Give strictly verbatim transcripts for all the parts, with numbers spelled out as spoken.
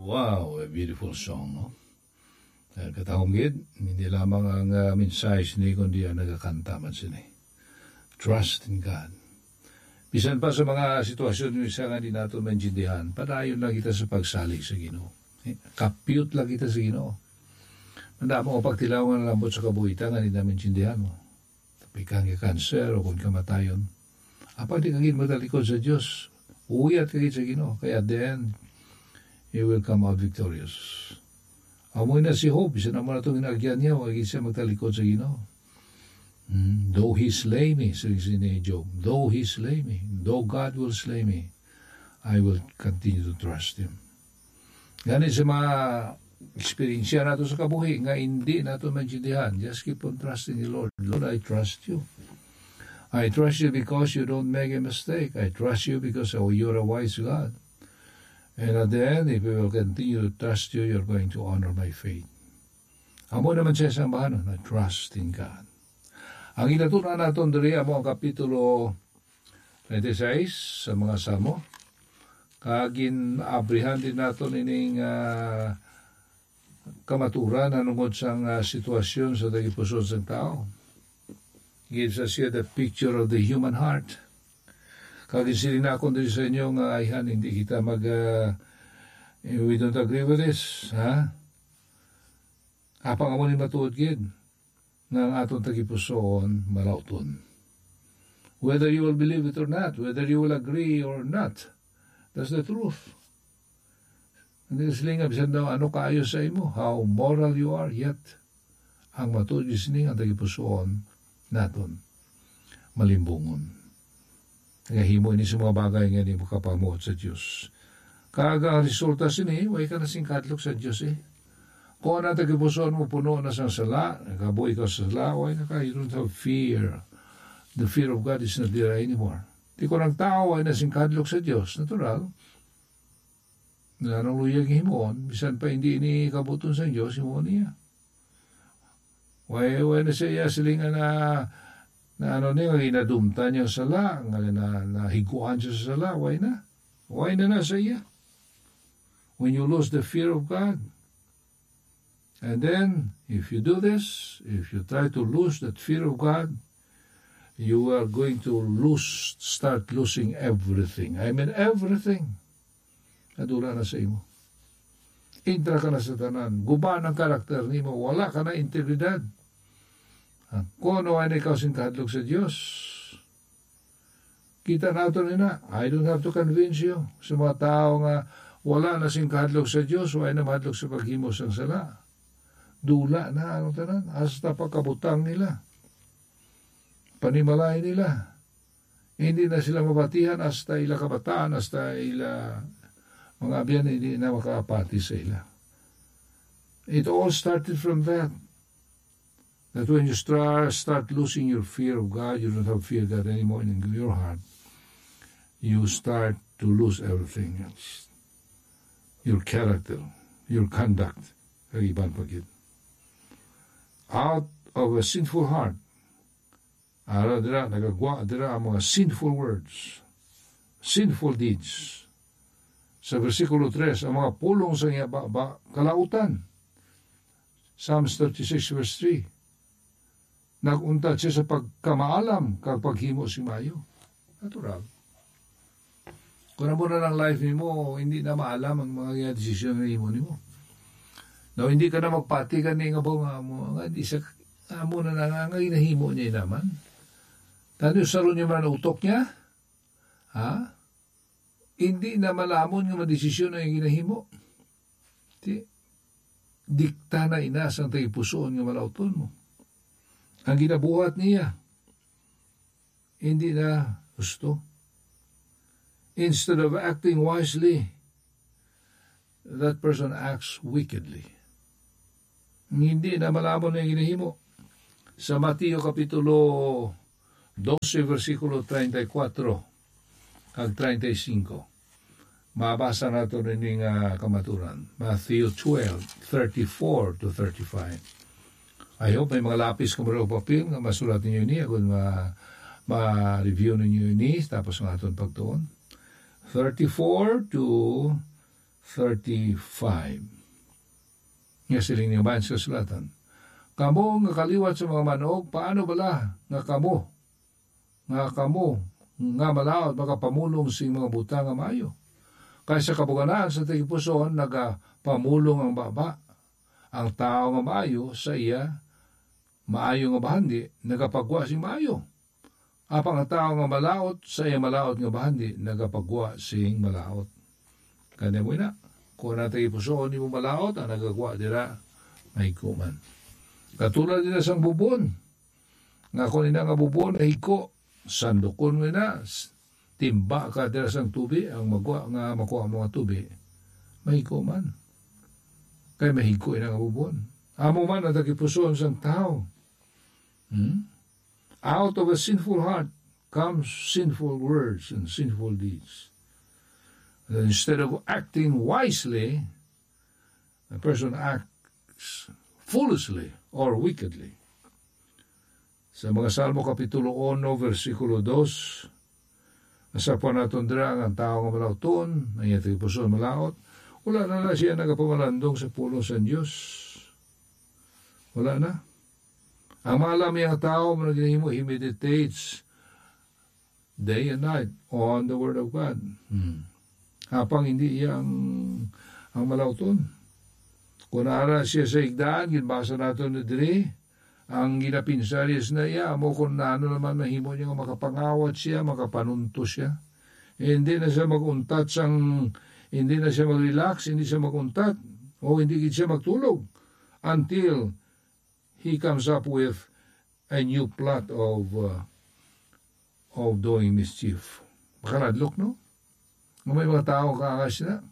Wow, a beautiful song, no? Eh, katahom gid, hindi lamang ang, ah, mensahe sini, kundi ang nagakanta man sini. Trust in God. Bisan pa sa mga sitwasyon nga isa nga di nato maintindihan, padayon lang kita sa pagsalig sa Ginoo. Eh, kapyot lang kita sa Ginoo. Madamo ang pagtilaw nga nalambot sa kabuhi ta nga di namin maintindihan mo. Tapikan ka kanser o kung kamatayon. Apan di ka gid magtalikod sa Dios. Uyat ka gid sa Ginoo. Kay at the end, you will come out victorious. Amo na si Job, bisan amo na itong inaagyan niya, wa gid siya magtalikod sa Ginoo. Hmm, "Though he slay me," sabi si ni Job, "though he slay me, though God will slay me, I will continue to trust him." Gani sa mga eksperyensya nato sa kabuhi nga hindi nato maintindihan, just keep on trusting the Lord. "Lord, I trust you. I trust you because you don't make a mistake. I trust you because, oh, you're a wise God. And at the end, if we will continue to trust you, you're going to honor my faith." Amo naman siya sa bahanon na trust in God. Ang ginatun-an naton diri amo ang kapitulo twenty-six sa mga Salmo. Kag gin-abrihan din naton ining, ah, kamaturan nanungod sang, ah, sitwasyon sa tagipusoon sang tao. Gives us here the picture of the human heart. Kag ginsiling nakon diri sa inyo nga ayhan, hindi kita mag, ah, we don't agree with this, ha? Apang amo ni matuod gid nga ang aton tagipusoon malauton. Whether you will believe it or not, whether you will agree or not, that's the truth. Hindi ka silingan, bisan daw ano kaayo sa imo, how moral you are, yet ang matuod gid sini nga ang tagipusoon naton malimbungon. Nagahimo ini sa mga bagay nga hindi makapamuot sa Dios. Kag ang resulta sini, way ka na sing kahadlok sa Dios, eh. Kung ang tagipusoon mo puno na sang sala, nagabuhi ka sa sala, way na ka, you don't have fear. The fear of God is not there anymore. Di ko ng tao, way na sing kahadlok sa Dios. Natural. Nga anong luyag himuon, bisan pa hindi ni kabuton sa Dios, himuon niya. Way, way na sa iya silingan na, na ano niya, nga ginadumtan niya ang sala, nga na, nahiguan siya sa sala, way na. Way na na sa iya. When you lose the fear of God, and then, if you do this, if you try to lose that fear of God, you are going to lose, start losing everything. I mean, everything. Nadula na sa imo. Intra ka na sa tanan. Guba ang karakter nimo. Wala ka na integridad. Ha? Kung ano ay ikaw sing kahadlok sa Dios, kita nato nina. I don't have to convince you. Sa mga tao nga wala na sing kahadlok sa Dios, wala na mahadlok sa paghimo sang sala. Dula na ang tanan. Hasta pagkabutang nila. Panimalay nila. Hindi na sila mabatihan hasta ila kabataan, hasta ila mga abyan, hindi na makaapati sa ila. It all started from that. That when you stra-, start losing your fear of God, you don't have fear of God anymore in your heart, you start to lose everything else. Your character, your conduct, kag iban pa gid. Out of a sinful heart, ara dira, nagagwa dira ang mga sinful words, sinful deeds. Sa bersikulo tres, ang mga pulong sa iya baba, kalautan. Psalms thirty-six verse three. Nag-untat siya sa pagkamaalam kag paghimo sing maayo. Natural. Kung amo na lang life nimo, hindi na maalam ang mga desisyon nga himo nimo. Now, hindi ka na magpati ka ni nga ba nga mo, nga di sa, amo na na nga, nga ginahimo niya naman. Tani, usaron niya man ang utok niya? Ha? Hindi na malamon nga madesisyon ang ginahimo. Di, dikta na ina sang tagipusoon nga malauton mo. Ang ginabuhat niya, hindi na gusto. Instead of acting wisely, that person acts wickedly. Hindi na malamon ang ginahimo. Sa Mateo Kapitulo dose, bersikulo treinta y cuatro kag treinta y cinco. Mabasa nato nini nga kamaturan. Matthew twelve, thirty-four to thirty-five. I hope may mga lapis kamo o papel nga masulat ninyo ini, agon ma-, ma-review ninyo ini, tapos ang aton pagtuon. Thirty-four to thirty-five. Nga siling ni Bayan sa Sulatan, "Kamo nga kaliwat sa mga manog, paano bala nga kamo, nga kamo nga malaut makapamulong sing mga butang nga maayo? Kay sa kabuganan sa tagipusoon nagapamulong ang baba. Ang tawo nga maayo sa iya maayo nga bahandi nagapagwa sing maayo. Apang ang tawo nga malaut sa iya malaut nga bahandi nagapagwa sing malaut." Kani mo ina, kung ang tagipusoon nimo malaut, ang nagagwa dira mahigko man. Katulad dira sang bubon, nga kung ina nga bubon mahigko, sandukon mo ina, s-, timba ka dira sang tubi, ang magwa nga makuha mo nga tubi, mahigko man. Kay mahigko ina nga bubon. Amo man ang tagipusoon sang tawo. Hmm? Out of a sinful heart comes sinful words and sinful deeds. And instead of acting wisely, a person acts foolishly or wickedly. Sa mga Salmo Kapitulo uno, versikulo dos, nasa pa naton dira ang tawo nga malauton, ang iya tagipusoon malaut, wala na, na siya nagapamalandong sa pulong sa Dios. Wala na. Ang maalam nga tawo, mao na ginahimo, he meditates day and night on the word of God. Hmm. Apang hindi iya ang, ang malauton. Kung ara siya sa higdaan, ginbasa nato na diri, ang ginapinsar niya sa iya, amo kung ano naman mahimo niya nga makapangawat siya, makapanunto siya. Hindi na siya mag-untat sang, hindi na siya mag-relax, hindi siya mag-untat, o hindi gid siya magtulog until he comes up with a new plot of, uh, of doing mischief. Makaladlok, no? Nga may mga tao kaangas na.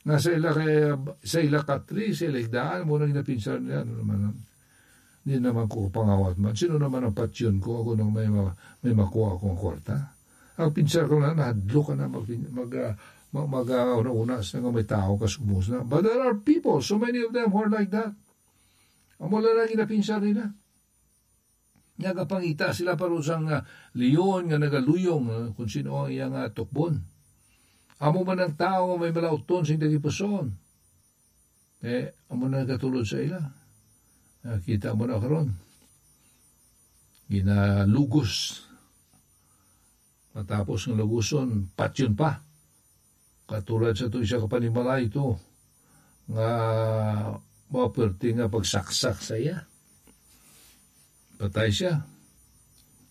Nga sa ila kay, sa ila katri, sa ila higdaan, mo nang napinsar nila, ano naman, di naman ko pangawat man. Sino naman ang patyon ko? Ako nang may ma-, may makuha akong kwarta. Ang pinsar ko na, nahadlok ka na, mag, mag, ah, mag, mag, ah, una-una sa nga may tao, kasubos na. But there are people, so many of them who are like that. Amo lang ang ginapinsar nila. Nagapangita sila paron sang, ah, leon nga nagaluyong, ah, kung sino ang iya nga tukbon. Amo man ang tawo nga may malauton sing tagipusoon. Eh, amo na nagatulod sa ila. Ah, kita mo na karon. Ginalugos. Matapos nga luguson, patyon pa. Katulad sa to isa ka panimalay to, nga mao perti nga pagsaksak sa iya. Patay siya.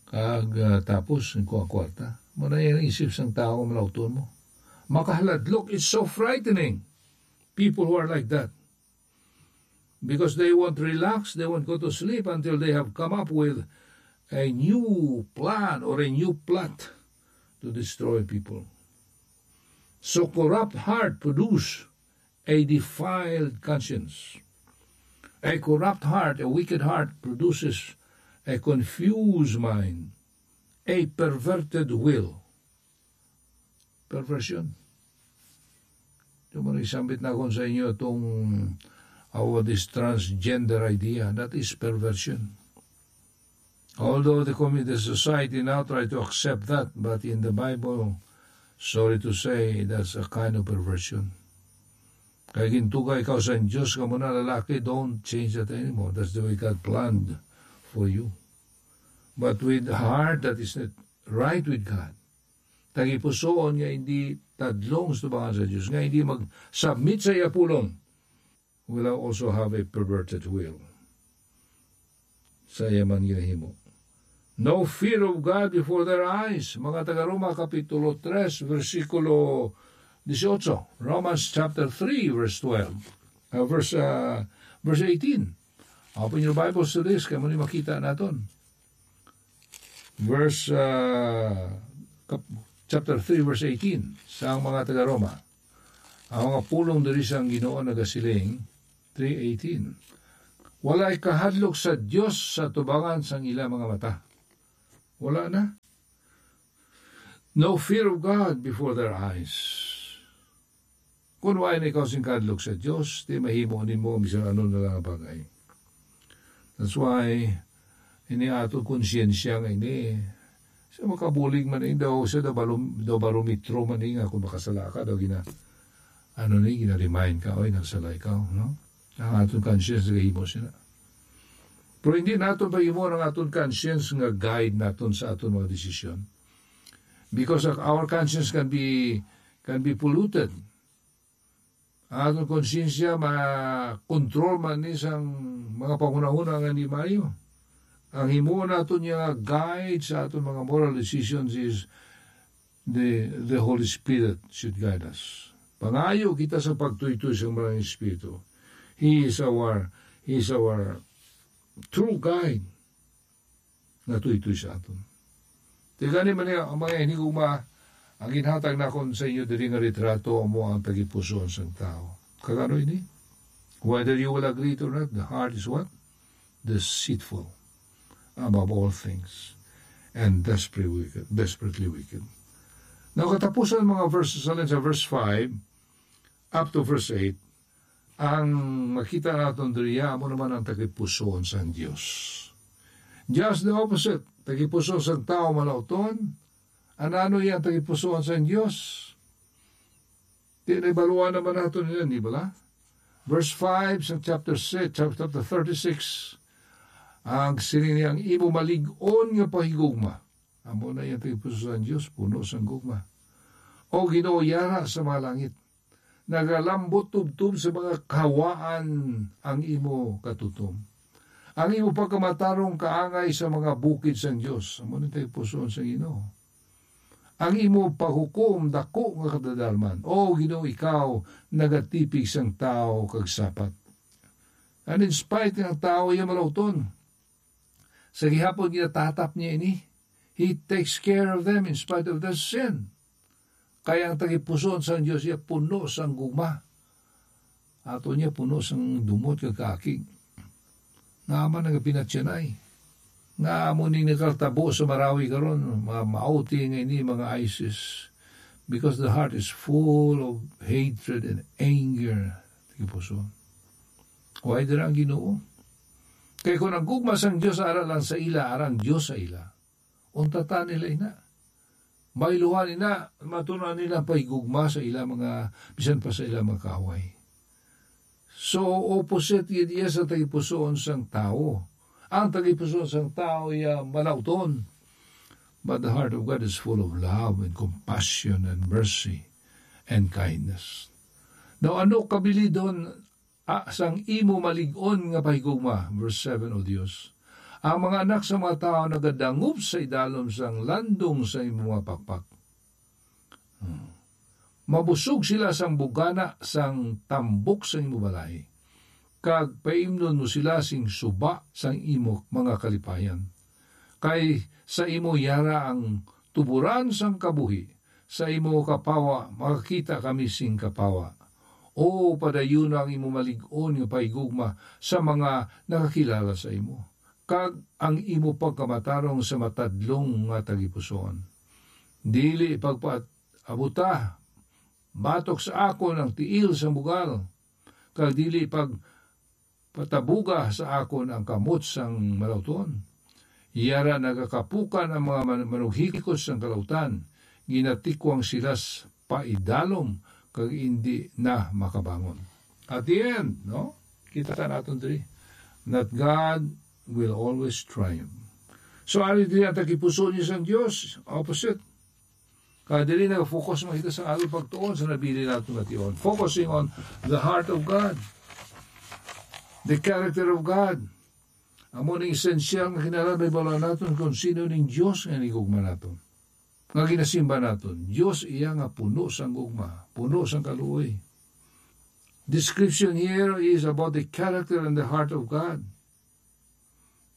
Kag, ah, tapos, ang kuha kwarta. Mao na yung isip sang tao nga malauton mo. Makahaladlok, it's so frightening. People who are like that. Because they won't relax, they won't go to sleep until they have come up with a new plan or a new plot to destroy people. So corrupt heart produce a defiled conscience. A corrupt heart, a wicked heart produces a confused mind, a perverted will. Perversion. Yung mga isambit na akong sa inyo itong, uh, this transgender idea, that is perversion. Although the community, the society now try to accept that, but in the Bible, sorry to say, that's a kind of perversion. Kay gintuga ikaw sa Diyos, kamo na lalaki, don't change that anymore. That's the way God planned for you. But with heart that is not right with God, tagipusoon nga hindi tadlong sa tubangan sa Diyos, nga hindi mag-submit sa iya pulong, will also have a perverted will sa iya man ginahimo. No fear of God before their eyes. Mga taga-Roma, Kapitulo tres, versikulo dieciocho. Romans chapter three, verse twelve. Uh, verse, uh, verse eighteen. Open your Bibles to this, kay mo ni makita naton. Verse, uh, kap-, chapter three, verse eighteen, sa mga taga-Roma. Ang mga pulong diri sang Ginoo nagasiling, three eighteen, "Walay kahadlok sa Dios sa tubangan sang ila mga mata." Wala na. No fear of God before their eyes. Kung wala na ikaw sing kahadlok sa Dios, di mahimo nimo ang bisan ano na lang nga bagay. That's why, ini ato konsyensya nga ini, sa makabulig man ini daw, sa daw balom-, daw barometro man ini nga kung makasala ka, daw gina-, Ano ni, gina-remind ka, "Oy, nagsala ikaw," no? Ang aton conscience nagahimo sina. Pero hindi naton pahimo ang aton conscience nga guide naton sa aton mga desisyon. Because of our conscience can be, can be polluted. Ang aton konsyensya ma-control man ni sang mga panghunahuna nga hindi maayo. Ang himuon naton nga guide sa aton mga moral decisions is the, the Holy Spirit should guide us. Pangayo kita sa pagtuytoy sa Maraming Espiritu. He is our, He is our true guide nga tuytoy sa aton. Ti gani man, ang mga hinigugma, ang ginhatag nakon sa inyo diri nga litrato amo ang tagipusoon sang tawo. Kag ano ini? Whether you will agree it or not, the heart is what? Deceitful above all things and desperately wicked, desperately wicked. Now, katapusan mga verses, alin sa verse five up to verse eight, ang makita naton diriya amo naman ang tagipusoon sang Dios. Just the opposite, tagipusoon sang tawo malauton. Ano-ano iya ang tagipusoon sang Dios? Di na ibaluan naman naton yan, di bala? Verse five sa chapter six, chapter thirty-six, ang siling niya, "Ang imo malig-on nga pahigugma." Amo na iya ang tagipusoon sang Dios, puno sang gugma. O Ginoo, yara sa mga langit, nagalambot tubtob sa mga kahawaan ang imo katutom. Ang imo pagkamatarong kaangay sa mga bukid sang Dios. Amo ni tagipusoon sang Ginoo. Ang imo paghukom dako nga kadadalman. O Ginoo, ikaw nagatipig sang tawo kag sapat. And in spite nga ang tawo iya malauton, sa gihapon ginatatap niya ini. He takes care of them in spite of their sin. Kay ang tagipusoon sang Dios iya puno sang gugma. Ato niya puno sang dumot kag kaakig. Nga man nagapinatyanay. Nga amo ni nagkatabo sa Marawi karon, mga mauti nga ini, mga ISIS. Because the heart is full of hatred and anger. Tagipusoon. Why dira ang Ginoo? Kay kung ang gugma sang Dios ara lang sa ila, ara ang Dios sa ila, untatan nila ina. Mailuhan ina, matun-an nila ang pahigugma sa ila mga, bisan pa sa ila mga kaaway. So, opposite gid iya sa tagipusoon sang tawo. Ang tagipusoon sang tawo iya malauton. But the heart of God is full of love and compassion and mercy and kindness. Now, ano kabilidon, ah, sang imo malig-on nga pahigugma? Verse seven, O Dios, ang mga anak sa mga tawo nagadangop sa idalom sang landong sa imo mga pakpak. Hmm. Mabusog sila sang bugana sang tambok sang imo balay, kag paimnon mo sila sing suba sang imo mga kalipayan. Kay sa imo yara ang tuboran sang kabuhi, sa imo kapawa makakita kami sing kapawa. O, padayuna ang imo malig-on nga pahigugma sa mga nakakilala sa imo, kag ang imo pagkamatarong sa matadlong nga tagipusoon. Dili pagpaabuta batok sa akon ang tiil sang bugal, kag dili pagpatabuga sa akon ang kamot sang malauton. Yara nagakapukan ang mga man-, manughikot sang kalautan, ginatikwang sila s-, paidalom, kag indi na makabangon. At the end, no? Kita naton diri, that God will always triumph. So, ari diri ang tagipusoon niya sang Dios, opposite. Kaya diri nag-focus man kita sa aton pagtuon sa nabilin naton nga tion. Focusing on the heart of God, the character of God. Amo ning esensyal nga kinahanglan mahibaluan naton kung sino ning Dios nga hinigugma naton, nga ginasimba naton. Dios iya nga puno sang gugma, puno sang kaluoy. Description here is about the character and the heart of God.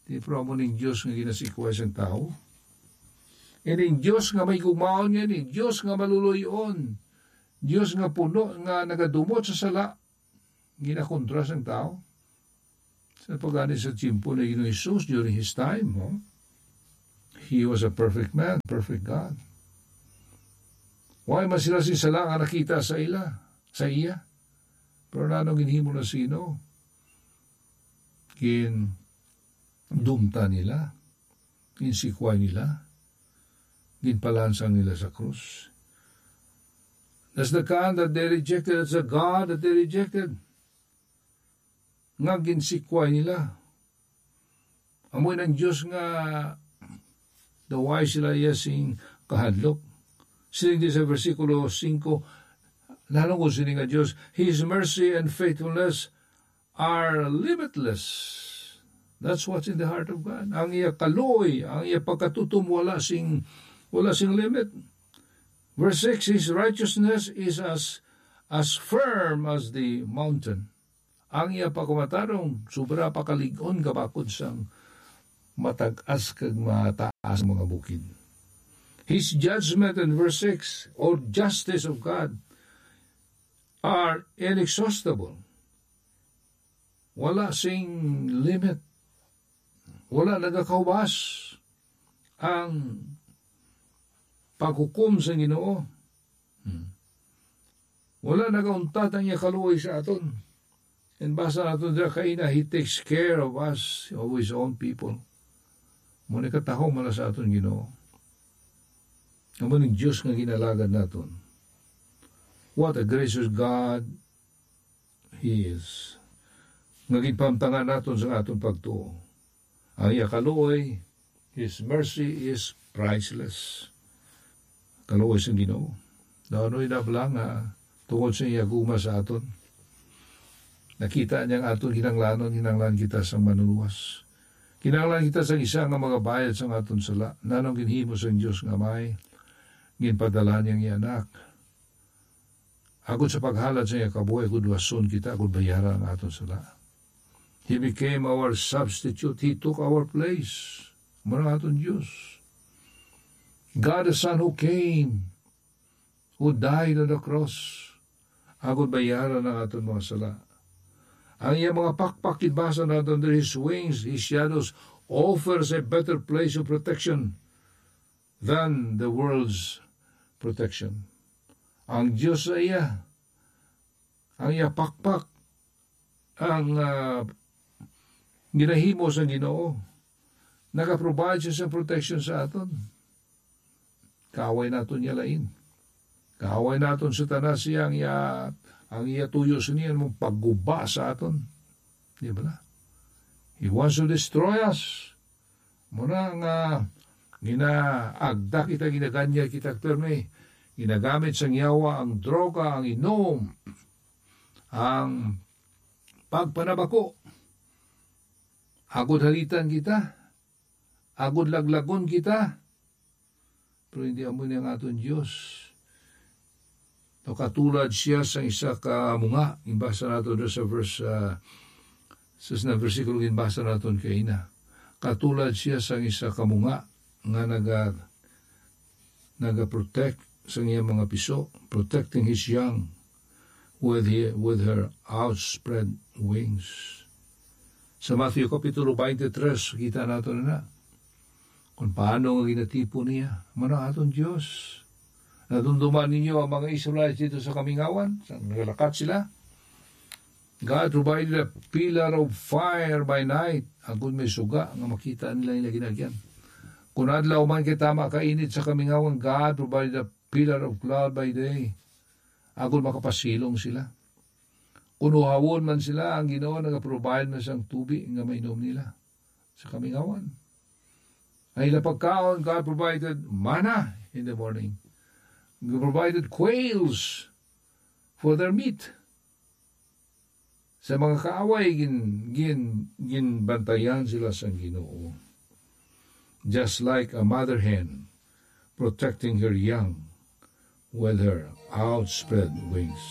Di, pero amo ning Dios nga ginasikway sang tawo. Ining Dios nga may gugmaon nga ini, Dios nga maluloy-on, Dios nga puno, nga nagadumot sa sala, ginakontra sang tawo. Sa pagani sa tiyempo ni Ginoong Jesus, during his time, no? He was a perfect man, perfect God. Wala man sila sing sala nga nakita sa ila, sa iya. Pero nano ginhimo na sino? Gindumtan nila, ginsikway nila, ginpalansang nila sa krus. That's the God that they rejected. That's the God that they rejected. Nga ginsikway nila. Amo nang Dios nga daway sila iya sing kahadlok. Siling di sa bersikulo singko, nahanungod sini nga Dios, "His mercy and faithfulness are limitless." That's what's in the heart of God. Ang iya kaluoy, ang iya pagkatutom wala sing, wala sing limit. Verse six, "His righteousness is as, as firm as the mountain." Ang iya pagpamatarong sobra pa kalig-on kabakod sang matag-as kag mataas nga mga bukid. His judgment in verse six, or justice of God, are inexhaustible. Wala sing limit. Wala nagakahubas ang paghukom sa Ginoo. Hmm. Wala nagauntat ang iya kaluoy sa aton. And basa naton dira kaina, "He takes care of us, of his own people." Mo ni katahom man sa aton Ginoo. Amo ning Dios nga ginalagad naton. What a gracious God He is. Nga ginpamtangan naton sa aton pagtuo. Ang iya kaluoy, His mercy is priceless. Kaluoy sang Ginoo. Daw ano ina bala nga tungod sa iya gugma sa aton. Nakita niya ang aton kinahanglanon, kinahanglan kita sang manluwas. Kinahanglan kita sang isa nga magabayad sang aton sala. Nanong ginhimo sang Dios nga may ginpadala niya ang iya anak. Agod sa paghalad sa iya kabuhi, agod luwason kita, agod bayaran ang aton sala. He became our substitute. He took our place. Amo na ang aton Dios. God the Son who came, who died on the cross, agod bayaran ang aton mga sala. Ang iya mga pakpak, ginbasa naton diri, his wings, his shadows, offers a better place of protection than the world's protection. Ang Dios sa iya, ang iya pakpak, ang, ah, ginahimo sang Ginoo, nagaprovide siya sa protection sa aton. Kaaway naton niya lain. Kaaway naton, Satanas, siya ang iya, ang iya tuyo sini, ang pagguba sa aton. Di ba na? He wants to destroy us. Muna nga ginaagda kita, ginaganyag kita, pirmi. Ginagamit sang yawa ang droga, ang inom, ang pagpanabako. Agod halitan kita, agod laglagon kita. Pero hindi amo ni ang aton Dios. No, katulad siya sang isa ka munga, ginbasa nato dira sa verse, ah, sa, sa bersikulo ginbasa naton kaina. Katulad siya sang isa ka munga nga naga-, naga-protect sang iyang mga piso, protecting his young with he-, with her outspread wings. Sa Matthew Kapitulo twenty-three, kita nato na na kung paano nga ginatipon niya. Mano aton Dios. Nadumduman ninyo ang mga Israelites dito sa kamingawan, sa nagalakat sila. God provided a pillar of fire by night. Agud may suga nga makita nila nila ginagyan. Kung adlaw man kay tama kainit sa kamingawan, God provided a pillar of cloud by day. Agud makapasilong sila. Kung uhawon man sila, ang Ginoo nagaprovide man sang tubi nga mainom nila sa kamingawan. Ang ila pagkaon, God provided manna in the morning. God provided quails for their meat. Sa mga kaaway, gin-, gin-, ginbantayan sila sang Ginoo. Just like a mother hen protecting her young with her outspread wings.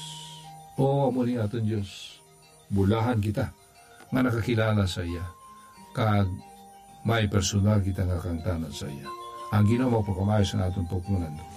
O, amo ni aton Dios, bulahan kita nga nakakilala sa iya, kag may personal kita nga kahangtanan sa iya. Ang Ginoo magpakamaayo sa aton pagpangandam.